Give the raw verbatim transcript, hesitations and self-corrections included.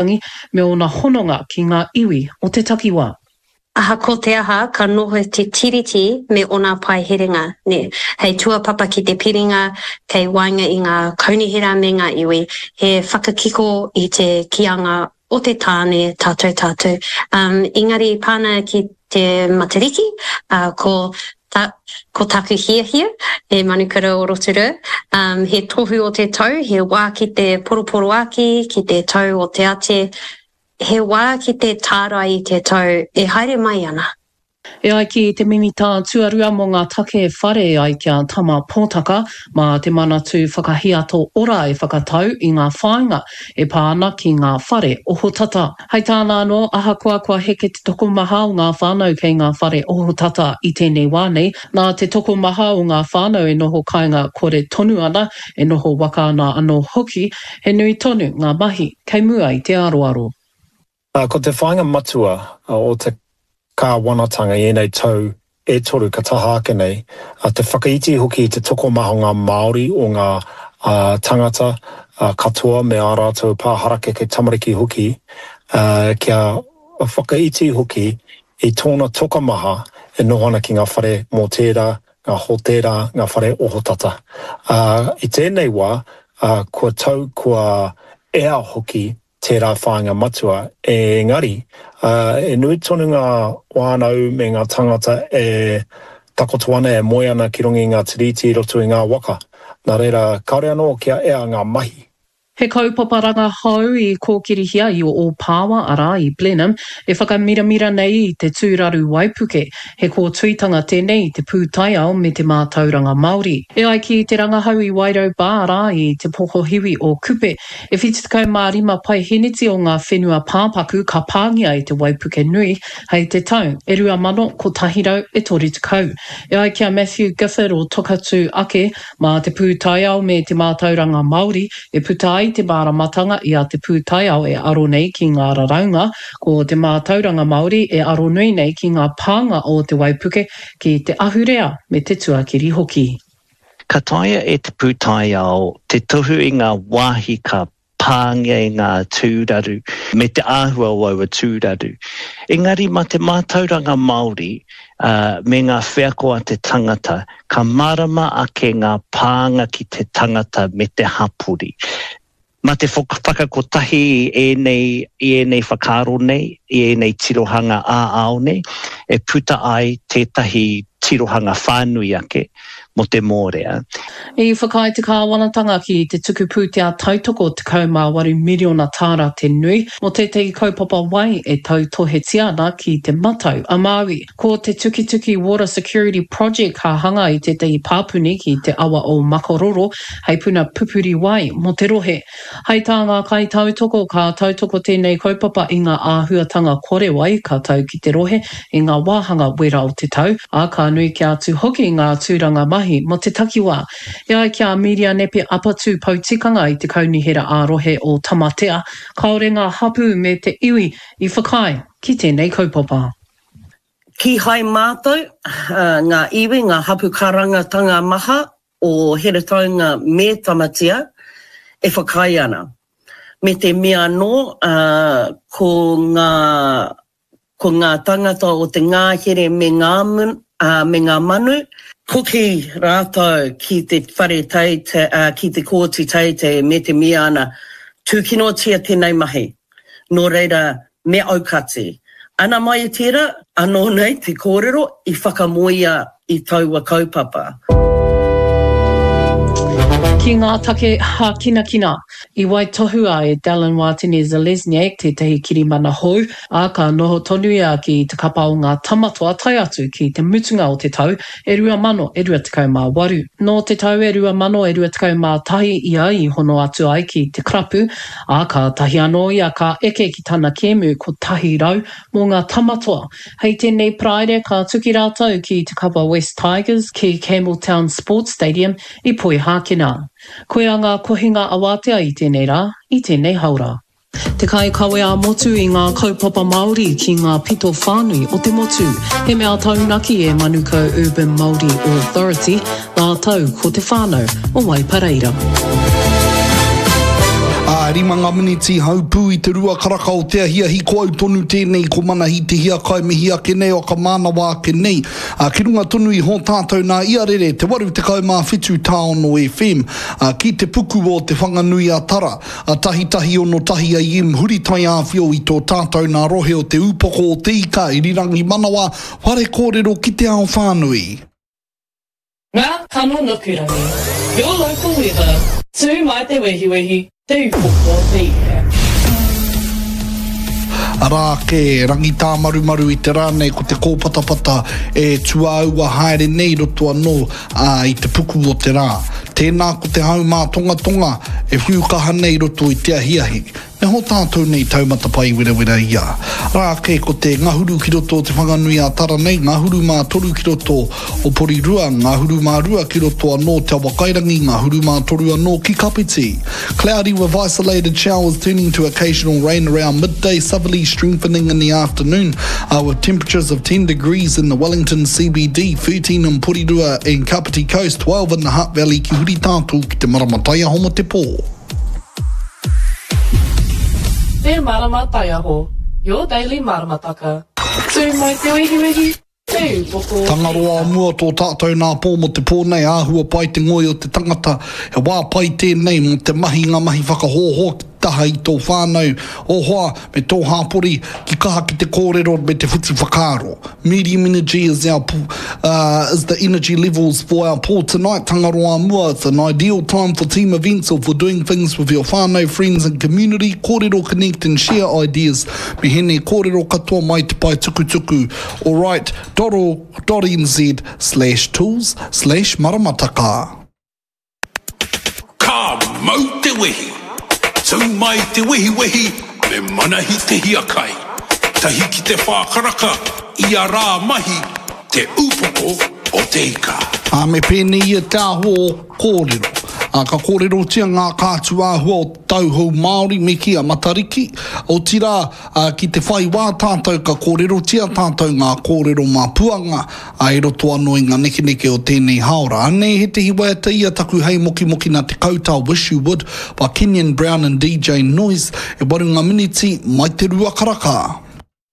Waitangi me ōna hononga ki ngā iwi o te takiwā. Ahakoa te aha, ka noho te Tiriti me ōna paeherenga, nē, hei tuapapa ki te piringa kei waenga i ngā kaunihera me ngā iwi, he whakakiko i te kīanga o te tāne tātou tātou. Um, engari pāna ki te Matariki, uh, ko ta, ko taku hiahia, he manukura o Rotorua, um, he tohu o te tau, he wā ki te poroporoaki, ki te tau o te ate, he wā ki te tārai i te tau e haere mai ana. E ai ki te Minita Tuarua mō ngā Take Whare e ai ki a Tama Potaka, mā te Manatū Whakahiato Ora e whakatau i ngā whāinga e pā ana ki ngā whare ohotata. Hei tāna anō, ahakoa kua heke te tokomaha o ngā whānau kei ngā whare ohotata i tēnei wā nei, nā te tokomaha o ngā whānau e noho kāinga kore tonu ana, e noho waka ana anō hoki, he nui tonu ngā mahi kei mua i te aroaro. Ko te whāinga matua o te kāwanatanga i ēnei tau e toru ka taha ake nei, te whakaiti hoki i te tokomaha o ngā Māori, o ngā tangata katoa me ā rātou pā harakeke tamariki hoki, kia whakaiti hoki i tōna tokomaha e noho ana ki ngā whare mōtēra, ngā hōtēra, ngā whare ohotata. I tēnei wā, kua tau, kua ea hoki tērā whāinga matua, engari, e nui tonu ngā whānau me ngā tāngata e takoto ana, e moe ana ki runga i ngā tiriti i roto i ngā waka. Nā reira, kāore anō kia ea ngā mahi. He kaupapa rangahau i kōkirihia i Ōpāwa, arā, i Blenheim, e whakamiramira nei i te tūraru waipuke. He kōtuitanga tēnei i te pūtaiao me te mātauranga Māori. E ai ki te rangahau i Wairau Bar, arā, i te pokohiwi o Kupe, E whitu tekau mā rima paeheneti o ngā whenua pāpaku ka pāngia e te waipuke nui hei te tau e rua mano kotahi rau e toru tekau. E ai ki a Matthew Gifford o Tokatū Ake, mā te pūtaiao me te mātauranga Māori e puta ai te māramatanga i a te pūtaiao e aro nei ki ngā raraunga, ko te mātauranga Māori e aronui nei ki ngā pānga o te waipuke ki te ahurea me te tuakiri hoki. Ka taea e te pūtaiao te tohu i ngā wāhi ka pāngia e ngā tūraru me te āhua o aua tūraru. Engari mā te mātauranga Māori me ngā wheako a te tangata, ka mārama ake ngā pānga ki te tangata me te hapori. Mā te whakakotahi i ēnei, i ēnei whakaaro nei, i ēnei tirohanga ā-ao nei, e puta ai tētahi tirohanga whānui ake mō te mōrea. I whakaae te kāwanatanga ki te tuku pūtea tautoko tekau mā waru miriona tāra te nui mō tētahi kaupapa wai e tautohetia ana ki Te Matau a Māui. Ko te Tukituki Water Security Project ka hanga i tētahi pāpuni ki te awa o Makaroro hei puna pupuri wai mō te rohe. Hai tā ngā kaitautoko, ka tautoko tēnei kaupapa i ngā āhuatanga kore wai ka tau ki te rohe i ngā wāhanga wera o te tau, ā, ka nui kē atu hoki ngā tūranga mahi mō te takiwā. E ai ki a Mīria Nepe Apatū Poutikanga i te Kaunihera ā-Rohe o Tamatea, kāore ngā hapū me te iwi i whakaae ki tēnei kaupapa. Kīhai mātou, ngā iwi, ngā hapū karangatanga maha o Heretaunga me Tamatea e whakaae ana. Me te mea anō, ko ngā, ko ngā tangata o te ngāhere me ngā, me ngā manu, hoki rātou ki te whare teitei, ki te kōti teitei me te mea ana, tūkinotia tēnei mahi. Nō reira, me aukati. Ana mai i tērā, anō nei te kōrero i whakamoea i taua kaupapa. Ki ngā take hākinakina, i waitohua e Dallin Watene-Zelezniak tētahi kirimana hou, ā, ka noho tonu ia ki te kapa o ngā Tamatoa tae atu ki te mutunga o te tau e rua mano e rua tekau mā waru. Nō te tau e rua mano e rua tekau mā tahi ia i hono atu ai ki te karapu, ā, kātahi anō ia ka eke ki tana kēmu kotahi rau mō ngā Tamatoa. Hei tēnei Paraire ka tuki rātou ki te kapa West Tigers ki Campbelltown Sports Stadium i Poihākena. Koia ngā kohinga awātea i tēnei rā, i tēnei haora. Te kaikawe ā-motu i ngā kaupapa Māori ki ngā pito whānui o te motu. He mea taunaki e Manukau Urban Māori Authority rātou ko te whānau o Waipareira. Āe, A rima ngā miniti haupū i te rua karaka o te ahiahi, ko au tonu tēnei, ko Manahi Te Hiakai mihi ake nei, o ka mānawa ake nei. A, ki runga tonu i hō tātou nā iarere, te waru tekau mā whitu tāono F M, a, ki te puku o Te Whanganui a Tara, a tahi tahi ono tahi A M, huri taiāwhio i tō tātou nā rohe o Te Ūpoko o Te Ika, Irirangi Manawa, whare kōrero ki te ao whānui. Ngā kano nukurangi. Your local weather. Tū mai te wehiwehi, Te Ūpoko o Te Ika. Arā ake, rangi tāmarumaru i te rā nei, ko te kōpatapata e tuāua haere nei roto anō ā, i te puku o te rā. Tēnā ko te hau mātongatonga e whiu kaha nei roto i te ahiahi. Me hō tātou nei taumata pai werawera ia. Rā ake ko te ngahuru ki roto o Te Whanganui a Tara nei, ngahuru mā toru ki roto o Porirua, ngahuru mā rua ki roto anō Te Awakairangi, ngahuru mā toru anō ki Kapiti. Cloudy with isolated showers turning to occasional rain around midday, southerly strengthening in the afternoon, uh, with temperatures of ten degrees in the Wellington C B D, thirteen in Porirua and Kapiti Coast, twelve in the Hutt Valley ki huri tātou ki te marama taiaho mo te pō. Te Marama Taiaho, your daily maramataka. Tū mai te wehiwehi, Te Ūpoko o Te Tangaroa Ika. Mua tō tātou nā pō mo te pō nei, āhua pai te ngoi o te tangata, he wā pai tēnei mō te mahi ngā mahi whakahoho ki taha i tō whānau, ō hoa me tō hāpori, ki kaha ki te kōrero me te whiti whakaaro. Medium energy is our uh, is the energy levels for our pō tonight. Tangaroa mua, it's an ideal time for team events or for doing things with your whānau, friends and community. Kōrero, connect and share ideas. Me hene kōrero katoa mai te pae tukutuku alright dot org dot N Z slash tools slash maramataka. Ka mau te wehi! Tū mai te wehiwehi me Manahi Te Hiakai. Tahi ki te whā karaka, ia rā mahi, Te Ūpoko o Te Ika. Ā, me pēnei ia te āhua o kōrero. Ā, ka kōrerotia ngā kātū āhua o te tau hou Māori me kī a Matariki, otirā, ā, ki te whai wā tātou ka kōrerotia tātou ngā kōrero mā Puanga, ā, i roto anō i ngā nekeneke o tēnei hāora. Anei he waiata ia taku hei mokimoki nā te kauta Wish You Would by Kenyon Brown and D J Noise, e waru ngā miniti mai te rua karaka.